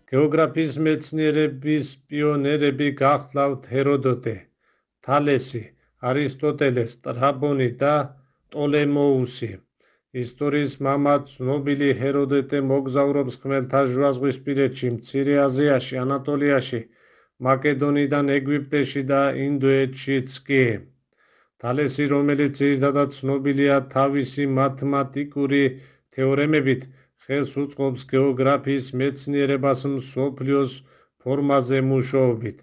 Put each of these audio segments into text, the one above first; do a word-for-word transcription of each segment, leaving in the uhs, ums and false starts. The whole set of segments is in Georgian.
გეოგრაფიის მეცნიერების პიონერები გახლავთ ჰეროდოტე, თალესი, არისტოტელე, სტრაბონი და ტოლემოუსი. ისტორიის მამა ცნობილი ჰეროდოტე მოგზაურობს ხმელთაშუაზღვისპირეთში, მცირე აზიაში, ანატოლიაში, მაკედონიიდან ეგვიპტეში და ინდოეთშიც კი. თალესი, რომელიც ძირითადად ცნობილია თავისი მათემატიკური თეორემებით, ხელს უწყობს გეოგრაფიის მეცნიერებას მსოფლიოს ფორმაზე მუშაობით.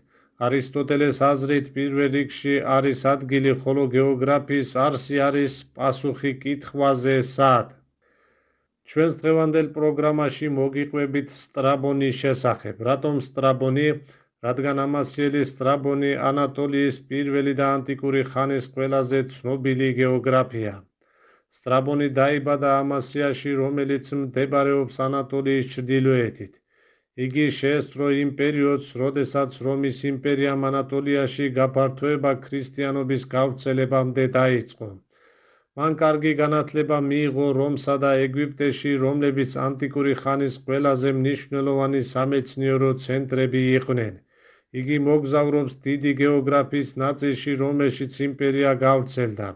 არისტოტელეს აზრით პირველ რიგში არის ადგილი, ხოლო გეოგრაფიის არსი არის პასუხი კითხვაზე სად. ჩვენს დღევანდელ პროგრამაში მოგიყვებით სტრაბონის შესახებ. რატომ სტრაბონი? რადგან ამასიელი სტრაბონი ანატოლიის პირველი და ანტიკური ხანის ყველაზე ცნობილი გეოგრაფია. სტრაბონი დაიბადა ამასიაში, რომელიც მდებარეობს ანატოლიის ჩრდილოეთით. იგი შეესწრო იმ პერიოდს, როდესაც რომის იმპერიამ ანატოლიაში გაფართოება ქრისტიანობის გავრცელებამდე დაიწყო. მან კარგი განათლება მიიღო რომსა და ეგვიპტეში, რომლებიც ანტიკური ხანის ყველაზე მნიშვნელოვანი სამეცნიერო ცენტრები იყვნენ. იგი მოგზაურობს დიდი გეოგრაფიის ნაწილში, რომელშიც იმპერია გავრცელდა.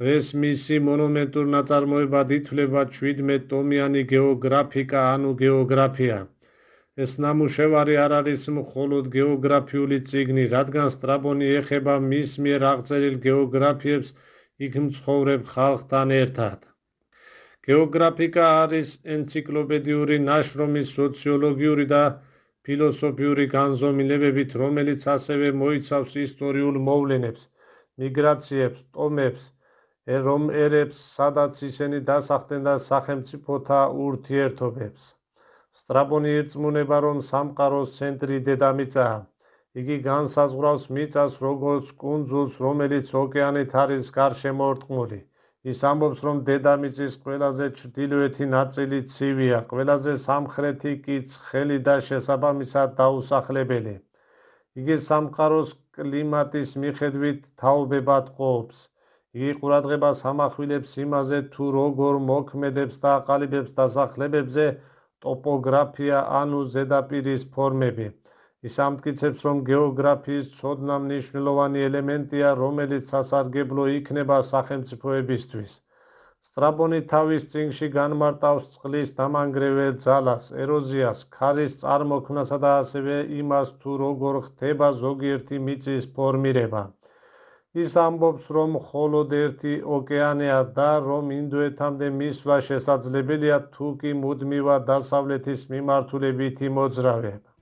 დღეს მისი მონუმენტურ ნაწარმოებად ითვლება ჩვიდმეტ ტომიანი გეოგრაფიკა ანუ გეოგრაფია. ეს ნამუშევარი არ არის მხოლოდ გეოგრაფიული წიგნი, რადგან სტრაბონი ეხება მის მიერ აღწერილ გეოგრაფიებს იქ მცხოვრებ ხალხთან ერთად. გეოგრაფიკა არის ენციკლოპედიური ნაშრომი სოციოლოგიური და ფილოსოფიური განზომილებებით, რომელიც ასევე მოიცავს ისტორიულ მოვლენებს, მიგრაციებს, ტომებს, რომ ერებს, სადაც ისინი დასახდნენ და სახელმწიფოთა ურთიერთობებს. სტრაბონი ირწმუნება, რომ სამყაროს ცენტრი დედამიწაა. იგი განსაზღვრავს მიწას როგორც კუნძულს, რომელიც ოკეანით არის გარშემორტყმული. ის ამბობს, რომ დედამიწის ყველაზე ჩრდილოეთი ნაწილი ცივია, ყველაზე სამხრეთი კი ცხელი და შესაბამისად დაუსახლებელი. იგი სამყაროს კლიმატის მიხედვით თაობებად ყოფს. იგი ყურადღებას ამახვილებს იმაზე, თუ როგორ მოქმედებს და აყალიბებს დასახლებებზე ტოპოგრაფია ანუ ზედაპირის ფორმები. ის ამტკიცებს, რომ გეოგრაფიის ცოდნა მნიშვნელოვანი ელემენტია, რომელიც სასარგებლო იქნება სახელმწიფოებისთვის. სტრაბონი თავის წიგნში განმარტავს წყლის დამანგრეველ ძალას, ეროზიას, ქარის წარმოქმნასა და ასევე იმას, თუ როგორ ხდება ზოგიერთი მიწის ფორმირება. ის ამბობს, რომ მხოლოდ ერთი ოკეანეა და რომ ინდოეთამდე მისვლა შესაძლებელია, თუ კი მუდმივად დასავლეთის მიმართულებითი მოძრაობა.